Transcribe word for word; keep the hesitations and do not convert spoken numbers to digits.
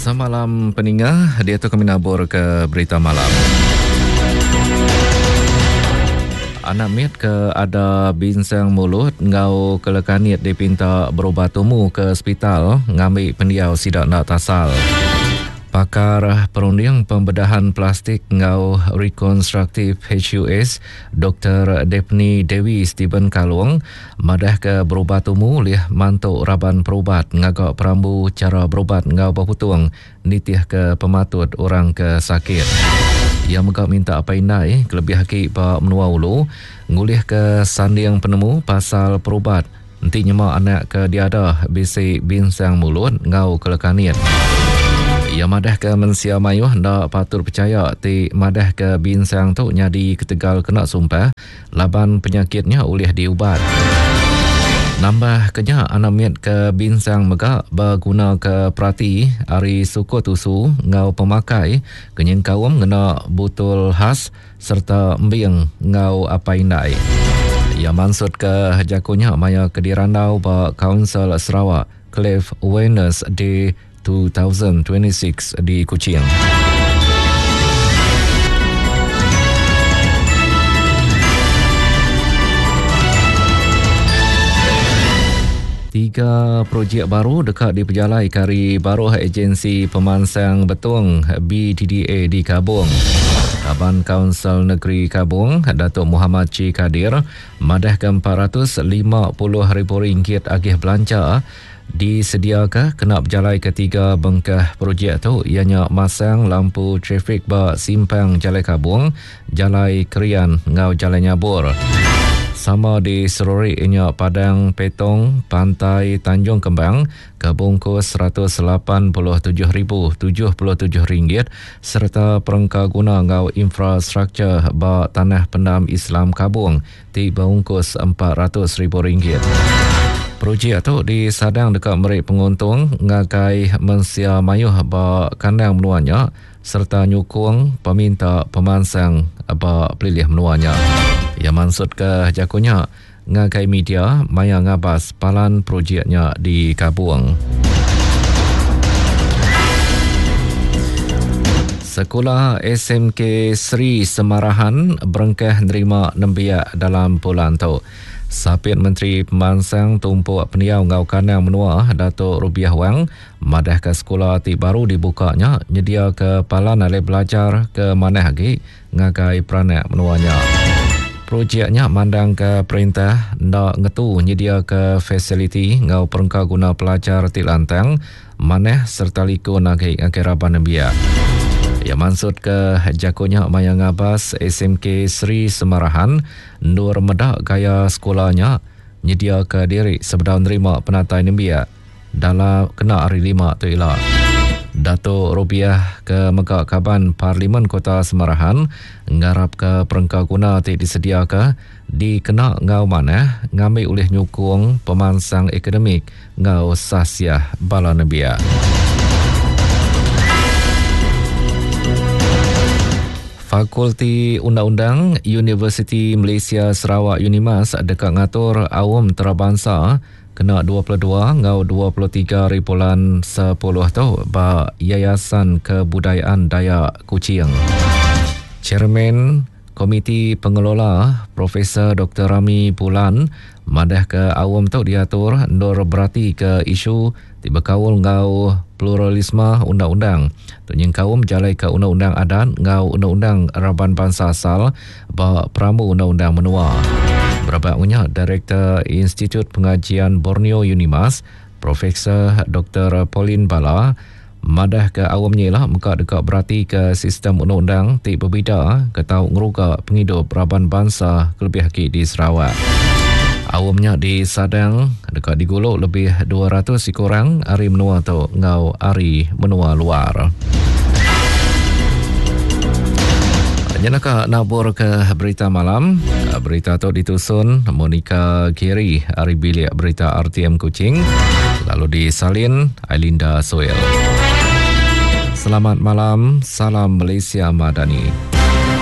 Semalam peninga, dia tu kami nabur ke berita malam. Anak mit ke ada binsang mulut ngau kelekanit dipinta berubat tumu ke hospital ngambil pendiau sidak nak tasal. Pakar Perunding Pembedahan Plastik ngau Rekonstruktif H U S Doktor Daphne Dewi Stephen Kalung madah ke berubat tumu lih mantuk raban perubat ngagak perambu cara berubat ngau berputung nitih ke pematut orang ke sakit. Ia megak minta apa indai kelebih haki ba menua ulu ngulih ke sanding penemu pasal perubat enti nyema anak ke diada bisi binsang mulut ngau kelekanit. Ia madah ke mensia mayuh ndak patut percaya ti madah ke binsang tu nyadi ketegal kena sumpah laban penyakitnya ulih diubat. Nambah kenya anak mit ke binsang mega berguna ke perati ari suku tusu ngau pemakai kenyeng kaum ngena butul khas serta embing ngau apa indai. Ia maksud ke jakunya maya ke dirandau ba Council Sarawak Cleft Awareness Day dua ribu dua puluh enam di Kuching. Tiga projek baru dekat dipejalai kari baruh Agensi Pemansang Betong B D D A di Kabong. Kaban Kaunsil Negeri Kabong, Datuk Muhammad Chi Kadir, madah ke empat ratus lima puluh ribu ringgit agih belanja disediakan kena berjalai ketiga bengkah projek tu ianya masang lampu trafik ba simpang Jalai Kabong, Jalai Kerian ngau Jalai Nyabur. Sama di Serori ianya Padang Petong, Pantai Tanjung Kembang ke bungkus seratus lapan puluh tujuh ribu tujuh puluh tujuh ringgit serta perengka guna ngau infrastruktur ba Tanah Pendam Islam Kabong ti bungkus empat ratus ribu ringgit. Projek tu disadang dekat merik penguntung ngagai mensia mayuh ba kandang menuanya serta nyukung peminta pemansang ba pelilih menuanya. Ia maksud ke jakunya ngagai media maya ngabas palan projeknya di Kabung. Sekolah S M K Sri Semarahan berengkah nerima nembiak dalam bulan tu. Sapit Menteri Pemansang Tumpuk Pendiau Ngau Kanang Menua Datuk Rubiah Wang madah ke sekolah ti baru dibukanya nyedia ke palan alai belajar ke manah agi ngagai peranak menuanya. Projeknya mandang ke perintah ndak ngetu nyedia ke fasiliti ngau perengka guna pelajar ti lantang manah serta likun agi ngagai raban nembiak. Ya maksud ke jakunya maya ngabas S M K Sri Semarahan nur medak gaya sekolahnya nyedia ke diri sebedau nerima penatai nembiak dalam kena hari lima tu ila. Datuk Rubiah ke Megak Kaban Parlimen Kota Semarahan ngarap ke perengka guna ti disediaka dikena ngau manah ngambil oleh nyukung pemansang akademik ngau sasiah bala nembiak. Fakulti Undang-Undang Universiti Malaysia Sarawak Unimas dekat ngatur awam terabangsa kena dua puluh dua ngau dua puluh tiga hari bulan sepuluh tu ba Yayasan Kebudayaan Dayak Kuching. Chairman Komiti Pengelola Profesor Doktor Rami Bulan madah ke awam tu diatur ndur berati ke isu ti berkaul ngau pluralisme undang-undang. Tu nyengkaum jalai ke undang-undang adat ngau undang-undang raban bangsa asal ba perambu undang-undang menua. Berapa punya Direktur Institut Pengajian Borneo Unimas Profesor Doktor Pauline Bala madah ke awamnya lah muka dekat berarti ke sistem undang-undang ti berbeza ke tau ngeruga penghidup raban bangsa kelebih lagi di Sarawak. Awamnya di Sadang dekat diguluk lebih dua ratus orang ari menua tu ngau ari menua luar. Nyenaka nabur ke berita malam. Berita tu ditusun Monica Kiri ari bilik berita R T M Kuching lalu disalin Ailinda Soel. Selamat malam, salam Malaysia Madani.